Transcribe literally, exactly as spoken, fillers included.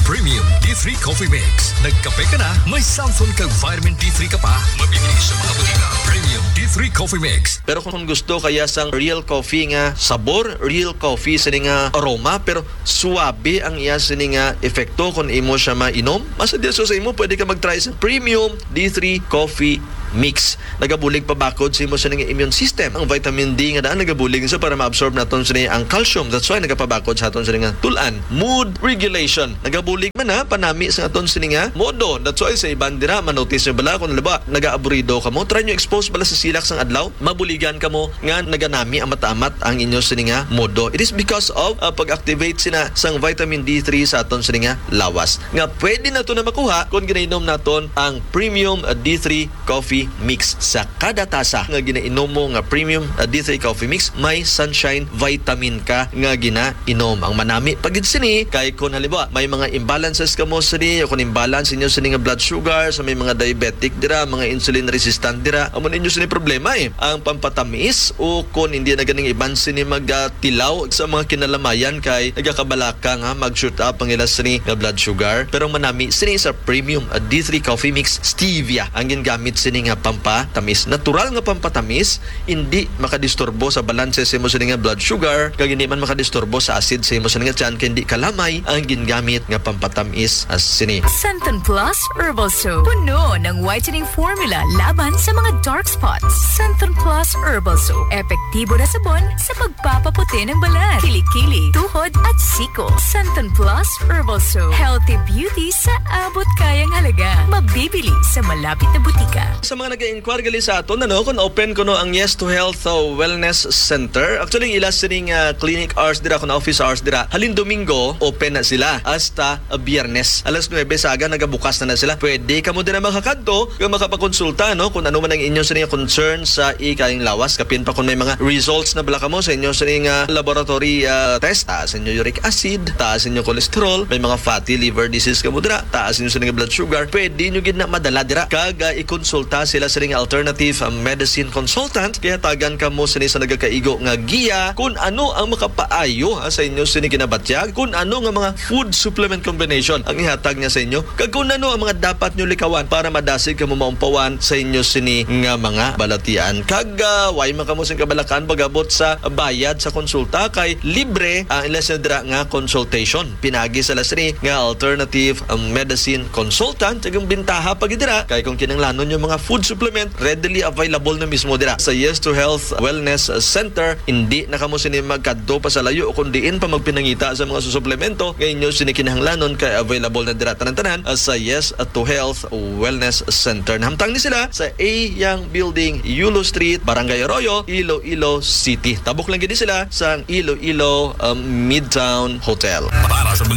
Premium D three Coffee Mix. Nagkape ka na? May samson kag vitamin D three ka pa? Mabibili sa mga botika. Premium D three Coffee Mix. Pero kung gusto kaya sang real coffee nga sabor, real coffee sini nga aroma, pero suabe ang iya sini nga epekto kung imo siya mainom, mas ideal sa imo, pwede ka mag-try sa Premium D three Coffee Mix. Nagabulig pabakod sa imo sini nga immune system. Ang vitamin D nga daan nagabulig sa para ma-absorb naton sini ang calcium. That's why nagapabakod sa aton sini nga tulan. Mood regulation. Nagabulig man na panami sa aton sini nga modo. That's why sa iban dira, manotice nyo bala kung, halimbawa, nagaaburido ka mo, try nyo expose bala sa silak sang adlaw, mabuligan ka mo nga naganami amat-amat ang inyo sini nga modo. It is because of, uh, pag-activate sina sang vitamin D three sa aton sini nga lawas, nga pwede nato na makuha kung ginainom naton ang Premium, uh, D three Coffee Mix. Sa kada tasa nga ginainom mo nga Premium, uh, D three Coffee Mix, may Sunshine Vitamin ka nga ginainom. Ang manami pa gid sini kay kung, halimbawa, may mga imbalances ka mo sini, o kung imbalance inyo sini nga blood sugar, sa may mga diabetic dira, mga insulin resistant dira, amo ninyo sini problema eh. Ang pampatamis, o kung hindi na ganing iban sini magtilaw sa mga kinalamayan kay nagakabalaka nga mag-shoot up ang ila sini nga blood sugar. Pero manami sini sa Premium, uh, D three Coffee Mix. Stevia ang gingamit sini nga pampatamis. Natural nga pampatamis, hindi makadisturbo sa balanse sa imo sini nga blood sugar, kag hindi man makadisturbo sa acid sa imo sini nga tiyan, kay hindi kalamay ang gingamit nga pampatamis, ah, sini. Santon Plus Herbal Soap. Puno ng whitening formula laban sa mga dark spots. Santon Plus Herbal Soap. Epektibo na sabon sa pagpapaputi ng balat, kilikili, tuhod, at siko. Santon Plus Herbal Soap. Healthy beauty sa abot kayang halaga. Mabibili sa malapit na butika. Sa mga nag-inquire gali sa aton, ano, kung open kuno ang Yes to Health, uh, Wellness Center. Actually, ang ila sining, uh, clinic hours dira, kung office hours dira, halin Domingo, open na sila hasta, uh, Biyernes. Alas nuebe sa aga, nagabukas na na sila. Pwede kamo dira makakadto, kung makapakonsulta, no, kung ano man ang inyo sini nga concern sa ikayang lawas. Kapin pa kung may mga results na bala kamo sa inyo sini nga laboratory, uh, test, taas inyo uric acid, taas inyo cholesterol, may mga fatty liver disease kamo dira, taas inyo sini nga blood sugar, pwede nyo gid na madala dira. Kag, uh, ikonsulta sila sini nga alternative, uh, medicine consultant. Kay hatagan kamo sini sa nagakaigo nga giya kung ano ang makapaayo, ha, sa inyo sini ginabatyag, kung ano nga mga food supplement combination ang ihatag niya sa inyo, kag kung ano ang mga dapat nyo likawan para madasig kamo maumpawan sa inyo sini nga mga balatian. Kag, ah, way man kamo sing kabalakan pag-abot sa bayad sa konsulta, kay libre ang ila sini dira nga consultation. Pinagi sa ila sini nga alternative, um, medicine consultant. Kag ang bintaha pa gid dira kay kung kinahanglanon yung mga food supplement, readily available na mismo dira sa Yes to Health Wellness Center. Hindi na kamo sini magkadto pa sa layo o kung diin pa magpinangita sa mga suplemento nga inyo sini kinahanglanon, kay available na dira tanan-tanan, ah, sa Yes to Health Wellness Center. Nahamtang ni sila sa A Yang Building, Yulo Street, Barangay Arroyo, Iloilo City. Tabok lang gid sila sa Iloilo, um, Midtown Hotel. Para sa mga